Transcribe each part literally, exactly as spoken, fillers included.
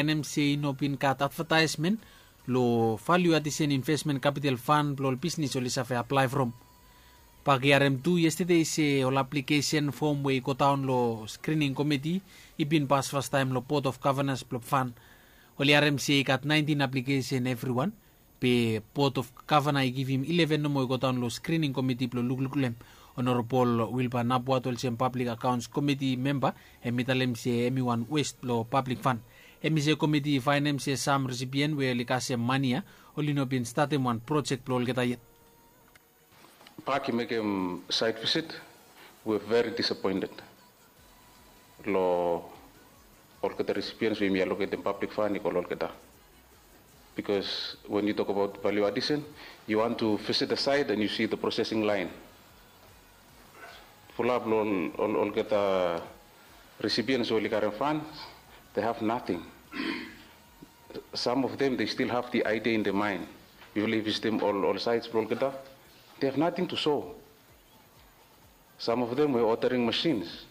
Enem se i no bin gat advataesmen long Value Addition Investment Capital Fund blong ol bisnis oli save aplae from. Bak i harem tu yestade se ol aplikesen fom we i godaon long skrining komiti i bin pas fastaem long Board of Governors blong fan. Oli harem se i gat naentin aplikesen evriwan, be Board of Governor i givim ileven nomo i godaon long skrining komiti blong lukluk long hem. Honorable Wilbur Napuat olsem Public Accounts Komiti memba hem i talem se hem i wan west blong pablik fan. Hem i se komiti i faenem se sam risipien we oli kasem mani ya oli no bin statem wan projek blong olgeta yet. Bak i mekem site visit, we very disappointed long olgeta recipients we yumi allocatem public fund i go long olgeta. Because when you talk about value addition, you want to visit the site and you see the processing line. Fulap long ol, ol, olgeta recipients we oli karem funds, they have nothing. Some of them, they still have the idea in their mind. Yufala i visitim ol, ol sites blong olgeta, they have nothing to show. Some of them were ordering machines.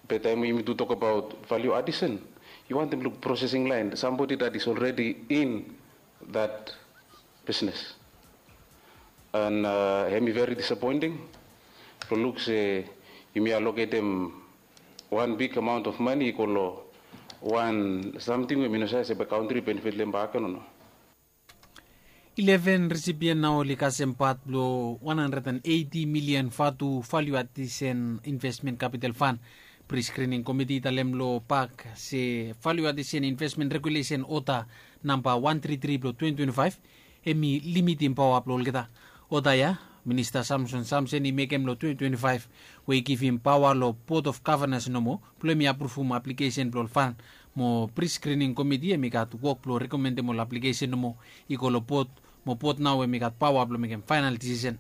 Be taem yumi tu tok abaot value addition, yu wantem luk processing line, somebody that is already in that business. And uh, hemi very disappointing blong luk se yumi allocatem wan big amount of money i go long wan samting we mi no save se bae country benefit long hem bakegen o no. Ileven risipien nao oli kasem pat blong wan handred and eiti milian vatu value addition investment capital fund. Pre-screening committee i talem long bak se value addition investment regulation order namba wan tri tri blong twenty twenty-five hemi limitim paoa blong olgeta. Order ya Minista Samson Samson i mekem long twenty twenty-five we i givim paoa long Board of Governors nomo blong hemi apruvum aplikesen blong ol fund. Mo pre-screening committee hemi gat wok blong rekomendem ol aplikesen nomo i go long board, mo board nao hemi gat paoa blong mekem faenal disisen.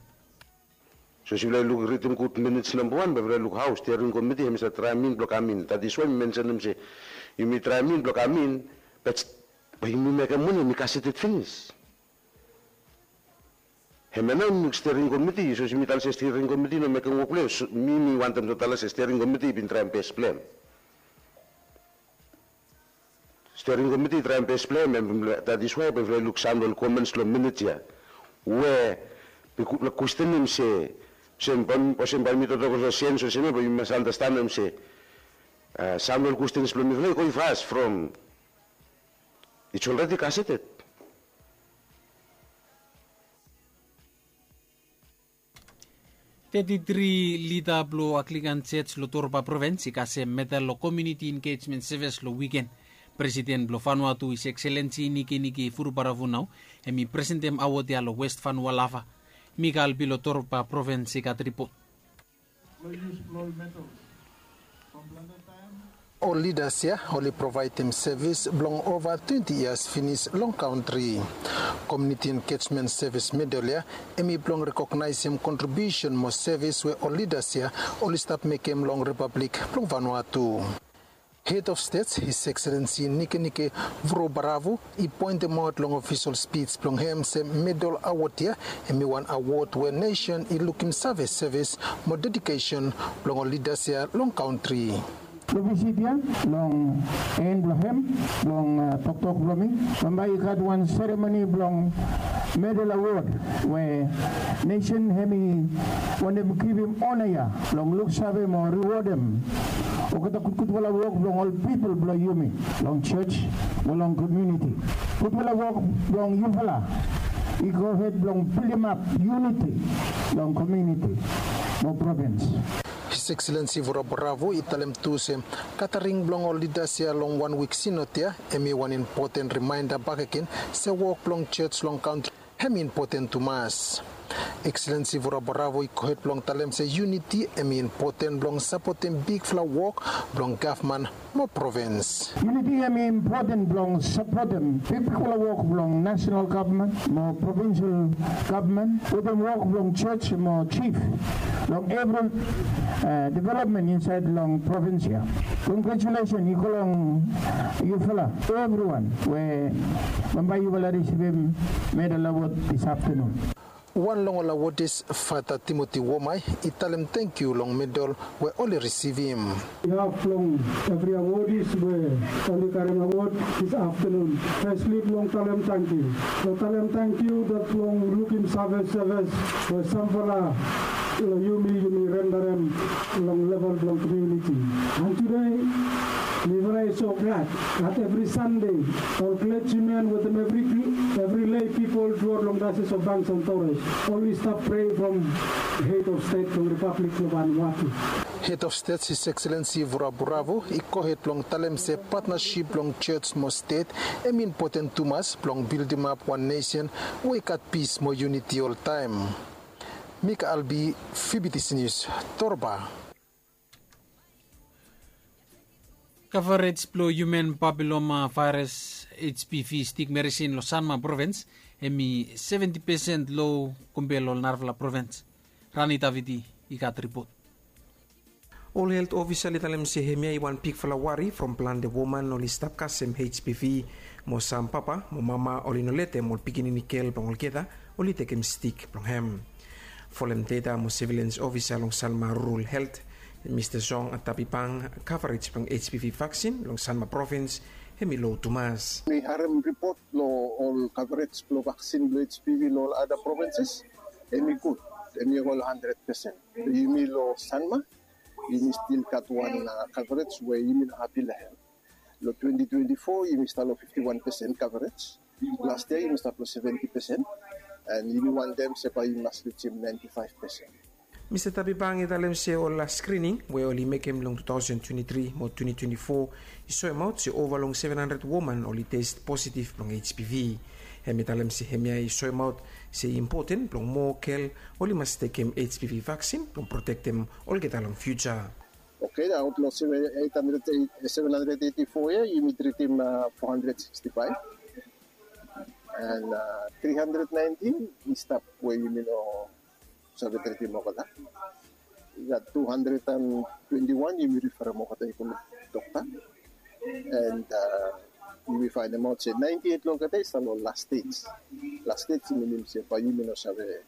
So as yufala i luk ritim gud minits namba wan, bae yufala i luk hao stiring komiti hemi save traem in blong kam in. That is why mi mensenem se yumi traem in blong kam in, be yumi mekem moni hemi kaseted finis. Hemia nao yumi luk stiring komiti, so as yumi talem se stiring komiti i no mekem wok blong hem, mi mi wantem tu talem se stiring komiti i bin traem bes blong hem. Stiring komiti i traem bes blong hem, and that is why bae yufala i luk sam long ol comments long minit ya we mi kwestenem se olsem bae mi toktok olsem sens olsem ya, bae yumi mas andastanem se sam long ol kwestens blong mifala i go i fas from it's already gazetted. Teti tri lida blong Anglican Church long Torba Provins i kasem medal long Community Engagement Service long wiken. Presiden blong Vanuatu His Excellency Nikenike Vurobaravu nao hemi presentem awod ya long West Vanua Lava. Mikal Pi long Torba Provins i gat ripot. Ol lidas ya oli provaedem sevis blong ova twenti yias finis long kantri. Community Engagement Service Medal ya hemi blong rekognaesem kontribiusen mo sevis we ol lidas ya oli stap mekem long Ripablik blong Vanuatu. Head of State His Excellency Nikenike Vurobaravu i poentemaot long ofisol spij blong hem se medal awod ya hemi wan awod we nesen i lukim save sevis mo dedikesen blong ol lidas ya long kantri. Long visit ya, long en blong hem, long toktok blong mi, bambae i gat wan seremoni blong medal awod we nesen hemi wantem givim ona ya blong luksave mo riwodem olgeta gudgudfala wok blong ol pipol blong yumi long jos mo long komuniti. Gudfala wok blong yufala i gohed blong bildimap yuniti long komuniti mo provins. His Excellency Vurobaravu i talem tu se gataring blong ol lidas ya long wan wik sinod ya hemi wan impoten rimaenda bakegen se wok blong jos long kantri hemi impoten tumas. Excellency Vurobaravu i gohed blong talem se yuniti hemi impoten blong sapotem bigfala wok blong gavman mo provins. Yuniti hemi impoten blong sapotem bigbigfala wok blong nasenal gavman mo provinsal gavman wetem wok blong jos mo jif long evri developmen insaed long provins ya. Kongratulesen i go long yufala evriwan we bambae yufala risivim medal awod dis aftanun. Wan long ol awodis, Fata Timoti Womai, i talem tangkiu long medal we oli risivim. Haf long evri awodis we oli karem awod dis aftenun. Fesli blong talem tangkiu, blong talem tangkiu dat blong lukim save sevis we samfala long yumi yumi rendarem long level blong komuniti. And tude mifala i so glad dat evri Sande ol klerjimen wetem evri lei pipol truaot long daesis of Banks and Torres oli stap prea from hed of stet blong Ripablik blong Vanuatu. Hed of stet His Excellency Vuraburavu i gohed blong talem se patnasip blong jos mo stet hem i impoten tumas blong bildimap wan nesen we i gat pis mo yuniti oltaem. Mika Albi, Fibitisi Nius, Torba. Kavarej blong hiuman papiloma vaeras, HPV, stik merisin long Sanma provins hem i seventi pesen lo kompea long ol narafala provins. Rani Davidi i gat ripot. Ol helt ofisa oli talem se hemia i wan bigfala wari from plante woman oli stap kasem HPV mo sam papa mo mama oli no letem ol pikinini gel blong olgeta oli tekem stik blong hem. Folem deta mo sevilens ofisa long Sanma Rural Helt, Mista Song Atabibang, kavarej blong HPV vaksin long Sanma provins hem i lo tumas. Mi harem ripot lo ol kavarej blo vaksin blo HPV lo ol ada provinses hem i gud, hem i ol handred pesen. Yumi lo Sanma yumi stil gat wan kavarej we yumi no hapi lo hem. Lo twenti twenti fo yumi stap lo fifti wan pesen kavarej. Las yia yumi stap lo seventi pesen. And yumi wantem se bae yumi mas rijim naenti faef pesen. Mista Tabibang i talem se ol las skrining we oli mekem long tu taosen twenti tri mo twenti twenti fo i soemaot se ova long seven handred woman oli test positiv blong HPV. Hem i talem se hemia i soemaot se i impoten blong moa gel oli mas tekem HPV vaksin blong protektem olgeta long fiuja. Oke, aot long seven handred eiti fo ya yumi tritim fo handred siksti faef. And tri handred naentin i stap we yumi no save tritim olgeta. I gat tu handred and twenti wan yumi riferem olgeta i go long dokta. And yumi faenemaot se naenti eit long olgeta i stap long las stej. Las stej i minim se bae yumi no save,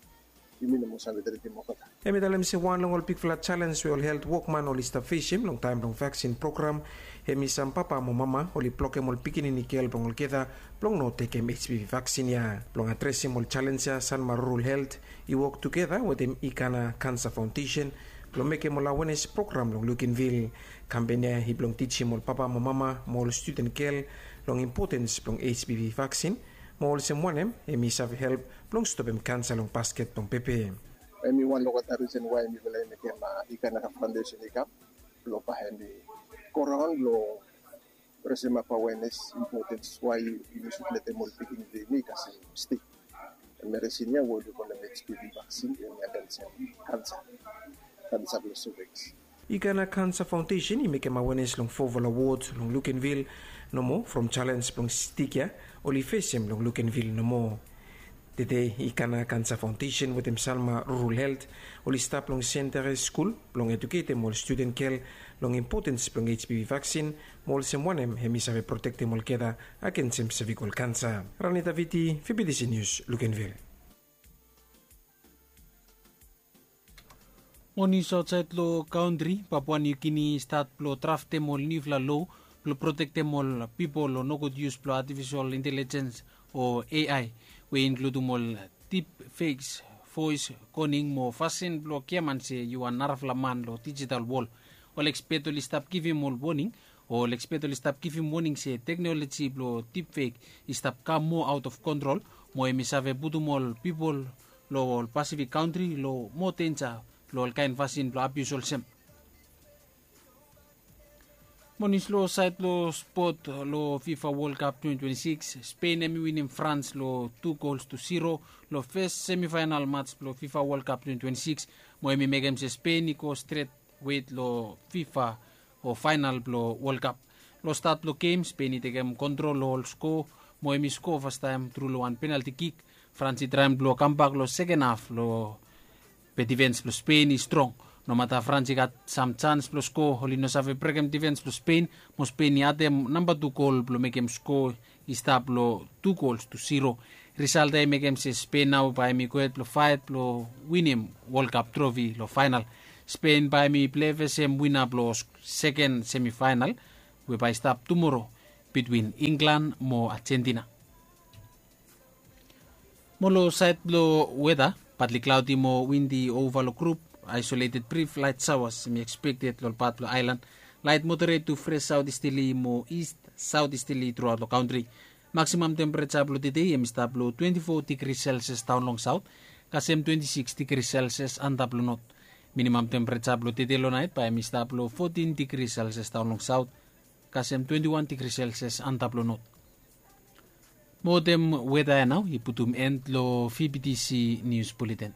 yumi no moa save tritim olgeta. Hem i talem se wan long ol bigfala jalens we ol helt wokman oli stap fesem long taem blong vaksin program hem i sam papa mo mama oli blokem ol pikinini gel blong olgeta blong no tekem HPV vaksin ya. Blong adresem ol jalens ya Sanma Rural Helt i wok tugeta wetem Ikana Kansa Faondesen blong mekem ol awenes program long Lukenvil. Kampen ya i blong tijim ol papa mo mama mo ol studen gel long impotens blong HPV vaksin mo olsem wanem hem i save help blong stopem kansa long basket blong pepe. Hem i wan long olgeta risen wae mifala i mekem Ikana Faondesen i kam blong bae hem i go raon blong resemap awenes impotens wae yumi sud letem ol pikinini blong yumi i kasem stik. Merisin ya we oli kolem HPV vaksin hem i agensem kansa, kansa blong seveks. Ikana Kansa Faondesen i mekem awenes long fofala wod long Lukenvil nomo from jalens blong stik ya oli fesem long Lukenvil nomo. Tede Ikana Kansa Faondesen wetem Sanma Rural Helt oli stap long Sentare skul blong ejuketem ol studen gel long impotens blong HPV vaksin mo olsem wanem hem i save protektem olgeta agensem sevikol kansa. Rani Davidi, Fibitisi Nius, Lukenvil. Mo nius aotsaed long kaontri, Papua Niu Gini i stat blong draftem ol niufala loa blong protektem ol pipol long nogud yus blong atifisol intelejens o AI, we i inkludum ol dipfakes, voes koning mo fasin blong giaman se yu wan narafala man long dijital wol. Ol ekspet oli stap givim ol woning o ol ekspet oli stap givim woning se teknoloji blong dipfek i stap kam moa aot of kontrol mo hem i save putum ol pipol long ol Pasifik kantri long moa denja blong ol kaen fasin blong abius olsem. Mo nius long saed blong spot long FIFA World Cup twenti twenti sikis, Spen hem i winim Frans long tu gols tu ziro long fes semifaenal mats blong FIFA World Cup twenti twenti sikis mo hem i mekem se Spen i go stret wet long FIFA o faenal blong World Cup. Long stat blong gem Spen i tekem kontrol long ol skoa mo hem i skoa fastaem tru long wan penalti kik. Frans i traem blong kambak long seken haf long be difens blong Spen i strong. Nomata Frans i gat sam jans blong skoa, oli no save brekem difens blong Spen mo Spen i adem namba tu gol blong mekem skoa i stap long tu gols tu ziro. Risalt ya i mekem se Spen nao bae hem i gohed blong faet blong winim Wol Kap trofi long faenal. Spen bae hem i plei fesem wina blong seken semifaenal we bae i stap tumoro bitwin Inglan mo Ajentina. Mo long saed blong weta, patli klaodi mo windi ova long grup, aisoleted brif laet saoas hem i ekspekted long ol pat blong aelan. Laet moderet tu fres saot isteli mo ist saot isteli truaot long kantri. Maksimam tempereja blong tede hem i stap long twenti fo digri selsias daon long saot, kasem twenti siks digri selsias antap long not. Minimam tempereja blong tede long naet bae hem i stap long fotin digri selsias daon long saot, kasem twenti wan digri selsias antap long not. Mo wetem weta ya nao i putum en long vbtc nius buleten.